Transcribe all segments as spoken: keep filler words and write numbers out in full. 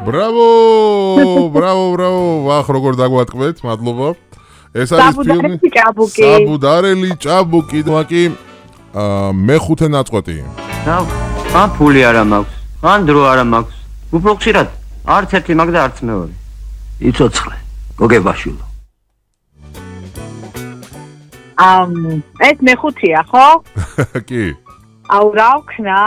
Bravo! Bravo, bravo. ვახ, როგორ დაგვატყვეთ, მადლობა. ეს არის ფილმი საბუდარელი ჭაბუკი. მაკი მეხუთე ნაწყვეტი. რა, ან ფული არა მაქვს, ან დრო არა მაქვს. უფრო ხშირად არც ერთი მაგ და არც მეორე. იცოცხლე, გოგებაშვილო. ამ ეს მეხუთია, ხო? კი. აუ რა ვქნა?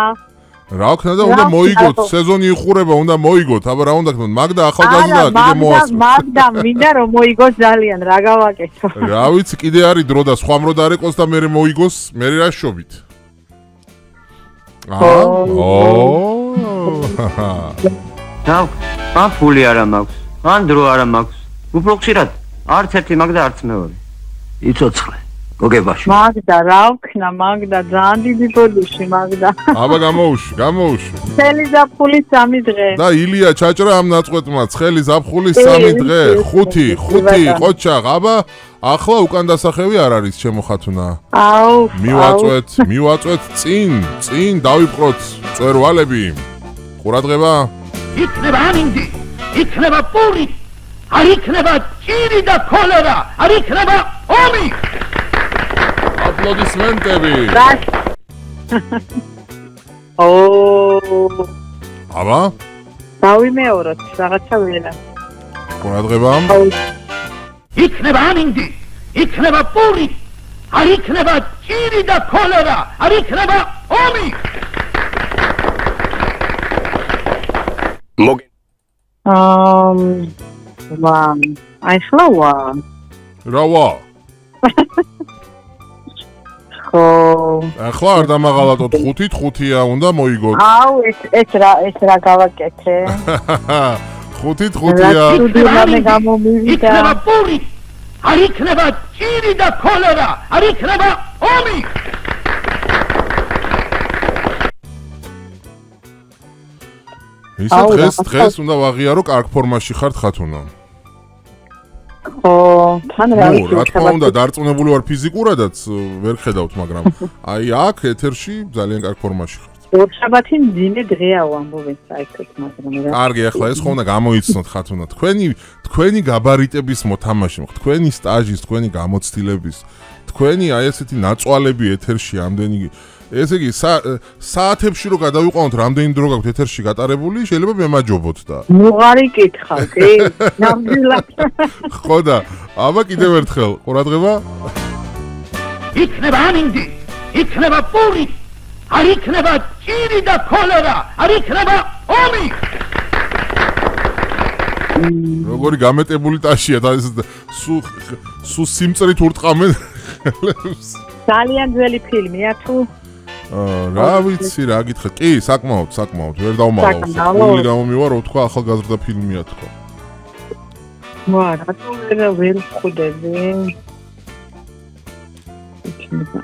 რა ვქნა და უნდა მოიგოთ, სეზონი იხურება, უნდა მოიგოთ, აბა რა უნდა ქნოთ, მაგდა ახალგაზრდა კიდე მოასწრო. მაგდა მინდა რომ მოიგოს ძალიან, რა გავაკეთო. რა ვიცი, კიდე არის დრო და სხვა მრო დარეკოს და მე მოიგოს, მე რა შობით. აა? და ან ფული არა მაქვს, ან დრო არა მაქვს. უფრო ხშირად არც ერთი მაგ და არც მეორე. იცოცხლე, გოგებაში. მაგდა რა ვქნა, მაგდა ძალიან დიდი ბოდიში, მაგდა. აბა გამოუშვი, გამოუშვი. ცხელი ზაფხული სამი დღე. და ილია ჩაჭრა ამ ნაწყვეტმა, ცხელი ზაფხული სამი დღე, ხუთი, ხუთი, ყოჩაღ, აბა ახლა უკან დასახევი არ არის ჩემო ხათუნა. აუ, მივაწვეთ, მივაწვეთ წინ, წინ დავიპყროთ წვერვალები. ყურადღება. იქნება ამინდი, იქნება პური, არ იქნება ჭირი და ქოლერა, არ იქნება ომი. აპლოდისმენტები. ო. აბა? დავიმეოროთ, რაღაცა ველა. ყურადღება. იქნება ამინდი, იქნება პური, არ იქნება ჭირი და ქოლერა, არ იქნება ომი. მოგ ამ ვამ, აი ხლა ვა. რა ვა? ხო. ახლა არ დამაღალატოთ ხუთით, ხუთია უნდა მოიგოთ. აუ, ეს ეს რა, ეს რა გავაკეთე? ხუთით, ხუთია. იქნება პური, არ იქნება ჭირი და ქოლერა, არ იქნება ომი. ისა დღეს, დღეს უნდა ვაღიარო კარგ ფორმაში ხართ ხათუნა. ხო, თან რა ვიცი. რა თქმა უნდა, დარწმუნებული ვარ ფიზიკურადაც, ვერ ხედავთ, მაგრამ აი აქ ეთერში ძალიან კარგ ფორმაში ხართ. ორშაბათი მძიმე დღეა ვამბობენ საერთოდ, მაგრამ რა. კარგი, ახლა ეს ხო უნდა გამოიცნოთ ხათუნა. თქვენი თქვენი გაბარიტების მოთამაშე, თქვენი სტაჟის, თქვენი გამოცდილების, თქვენი აი ესეთი ნაწვალები ეთერში ამდენი ესე იგი საათებში რო გადავიყვანოთ რამდენი დრო გაქვთ ეთერში გატარებული, შეიძლება მემაჯობოთ და. მუღარი კითხავ, კი? ნამდვილად. ხო და, აბა კიდევ ერთხელ, ყურადღება. იქნება ამინდი, იქნება პური, არ იქნება ჭირი და ქოლერა, არ იქნება ომი. როგორი გამეტებული ტაშია და სუ სუ სიმწრით ურტყამენ. ძალიან ძველი ფილმია თუ? რა ვიცი რა გითხრათ. კი, საკმაოდ, საკმაოდ. ვერ დავმაღალ. სულ გამომივარ, თქვა ახალგაზრდა ფილმია თქვა. ვა, რატო ვერ ვერ ხვდები?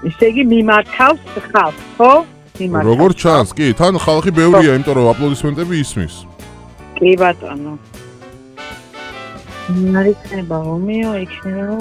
ისე იგი მიმართავს ხალხს, ხო? მიმართავს. როგორ ჩანს? კი, თან ხალხი ბევრია, იმიტომ რომ აპლოდისმენტები ისმის. კი ბატონო. არ იქნება ომიო, იქნება